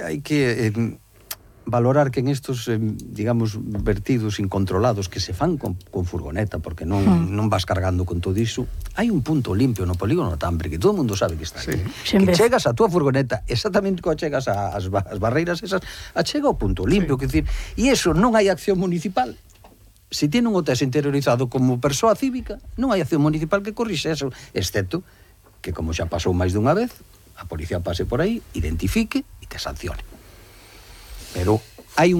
Hai que valorar que en estos, digamos, vertidos incontrolados que se fan con furgoneta, porque non vas cargando con todo iso, hai un punto limpio no polígono Tambre, que todo o mundo sabe que está aquí. Que chegas a túa furgoneta, exactamente como chegas ás barreiras esas, achega ao punto limpio, que decir, e iso non hai acción municipal. Se tiene un o tes interiorizado como persoa cívica, non hai acción municipal que corrixe eso, excepto que, como xa pasou máis dunha vez, a policía pase por aí, identifique e te sancione. Pero hai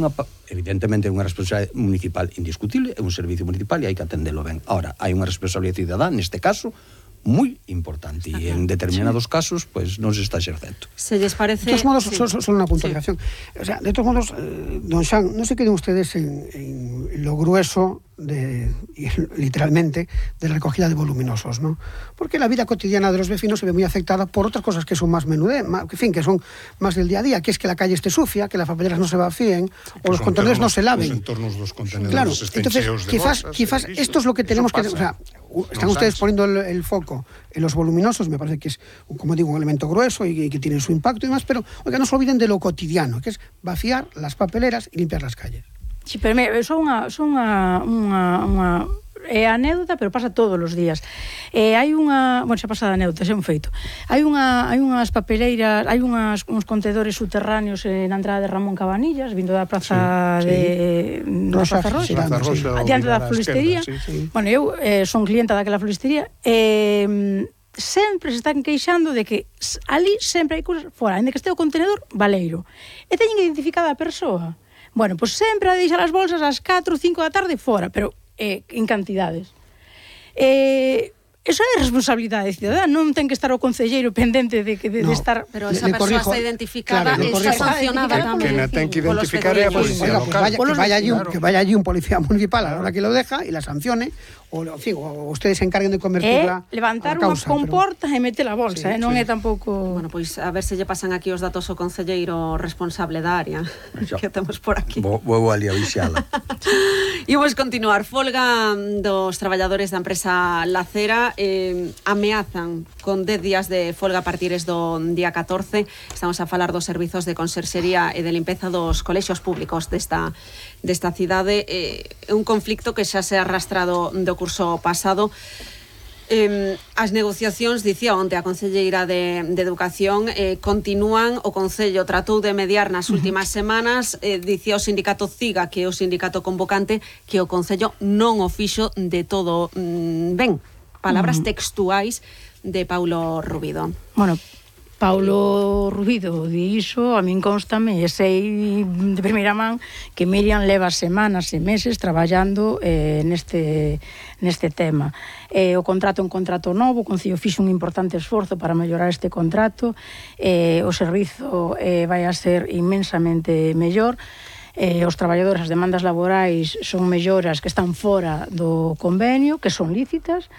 evidentemente unha responsabilidade municipal indiscutible, é un servicio municipal e hai que atendelo ben. Ahora, hai unha responsabilidade cidadá, neste caso, moi importante, e en determinados casos, pues, non se está exercendo. Se lles parece... De todos modos, solo unha puntualización. O sea, de todos modos, don Xan, non se queden ustedes en lo grueso literalmente, de la recogida de voluminosos, ¿no? Porque la vida cotidiana de los vecinos se ve muy afectada por otras cosas que son más que son más del día a día, que es que la calle esté sucia, que las papeleras no se vacíen, o los contenedores no se laven. Los entornos de los contenedores, claro, estén entonces, cheos de quizás esto es lo que tenemos que... O sea, están ustedes poniendo el foco en los voluminosos, me parece que es, como digo, un elemento grueso y que tiene su impacto y demás, pero, oiga, no se olviden de lo cotidiano, que es vaciar las papeleras y limpiar las calles. Sí, pero son unha anécdota, pero pasa todos os días. Hai unha, bueno, xa pasada anécdota, xa un feito. Hai unhas papeleiras, hai uns contedores subterráneos na entrada de Ramón Cabanillas, vindo da praza de Rosa Roxa, diante da floristería. Bueno, eu son clienta daquela floristería, sempre se están queixando de que ali sempre hai cousas fora, ainda que este o contenedor baleiro, e teñen identificada a persoa. Bueno, pois sempre a deixar as bolsas ás 4 ou 5 da tarde fora, pero en cantidades. Eso é responsabilidade cidadana, non ten que estar o concelleiro pendente de estar... Pero esa persoa está identificada e está sancionada tamén. Que ten que identificar é a policía local. Que vaya allí un policía municipal a la hora que lo deja y la sancione, o ustedes se encarguen de convertirla levantar unha comporta e meter a bolsa, non é tampouco... Bueno, pois a ver se lle pasan aquí os datos ao concelleiro responsable da área que temos por aquí. Vou ali a vixala. E vamos continuar. Folga dos traballadores da empresa Lacera, ameazan con 10 días de folga a partir do día 14. Estamos a falar dos servizos de conserxería e de limpeza dos colexios públicos desta cidade. É un conflicto que xa se ha arrastrado do curso pasado. As negociacións, dicía onte a concelleira de Educación, continúan. O Concello tratou de mediar nas últimas semanas, dicía o sindicato CIGA, que é o sindicato convocante, que o Concello non o fixo de todo ben. Palabras textuais de Paulo Rubido. Bueno, Paulo Rubido di iso, a min constame e sei de primeira man que Miriam leva semanas e meses traballando neste tema. O contrato é un contrato novo, o Concello fixo un importante esforzo para mellorar este contrato, o servizo vai a ser inmensamente mellor, os traballadores, as demandas laborais son melloras que están fora do convenio, que son lícitas,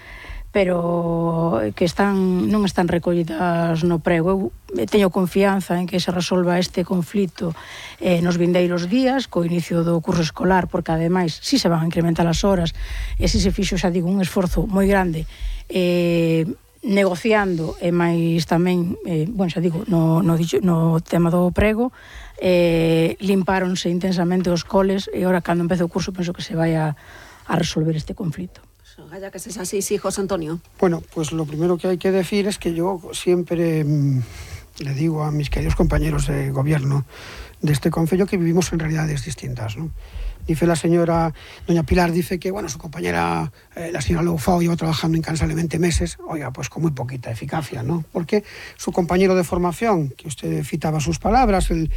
pero que non están recollidas no prego. Eu teño confianza en que se resolva este conflito nos vindeiros días, co inicio do curso escolar, porque ademais si se van a incrementar as horas, e si se fixo, xa digo, un esforzo moi grande negociando, e máis tamén, bueno, xa digo, no tema do prego, limpáronse intensamente os coles, e agora, cando empece o curso, penso que se vai a resolver este conflito. Gaya, que es así, sí, José Antonio. Bueno, pues lo primero que hay que decir es que yo siempre le digo a mis queridos compañeros de gobierno de este concello que vivimos en realidades distintas, ¿no? Dice la señora, doña Pilar, dice que, bueno, su compañera, la señora Loufao, lleva trabajando incansablemente meses, oiga, pues con muy poquita eficacia, ¿no? Porque su compañero de formación, que usted citaba sus palabras, el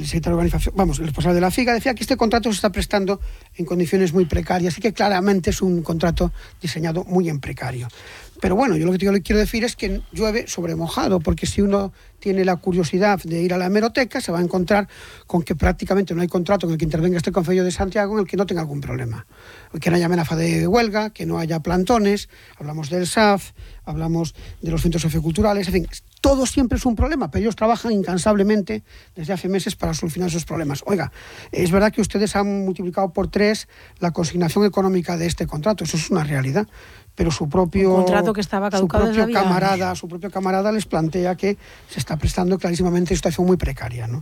secretario de organización, vamos, el responsable de la FIGA, decía que este contrato se está prestando en condiciones muy precarias y que claramente es un contrato diseñado muy en precario. Pero bueno, yo lo que le quiero decir es que llueve sobre mojado, porque si uno tiene la curiosidad de ir a la hemeroteca, se va a encontrar con que prácticamente no hay contrato en el que intervenga este Concello de Santiago en el que no tenga algún problema. Que no haya amenaza de huelga, que no haya plantones, hablamos del SAF, hablamos de los centros socioculturales, en fin, todo siempre es un problema, pero ellos trabajan incansablemente desde hace meses para solucionar esos problemas. Oiga, es verdad que ustedes han multiplicado por 3 la consignación económica de este contrato, eso es una realidad, pero su propio camarada les plantea que se está prestando clarísimamente en una situación muy precaria, ¿no?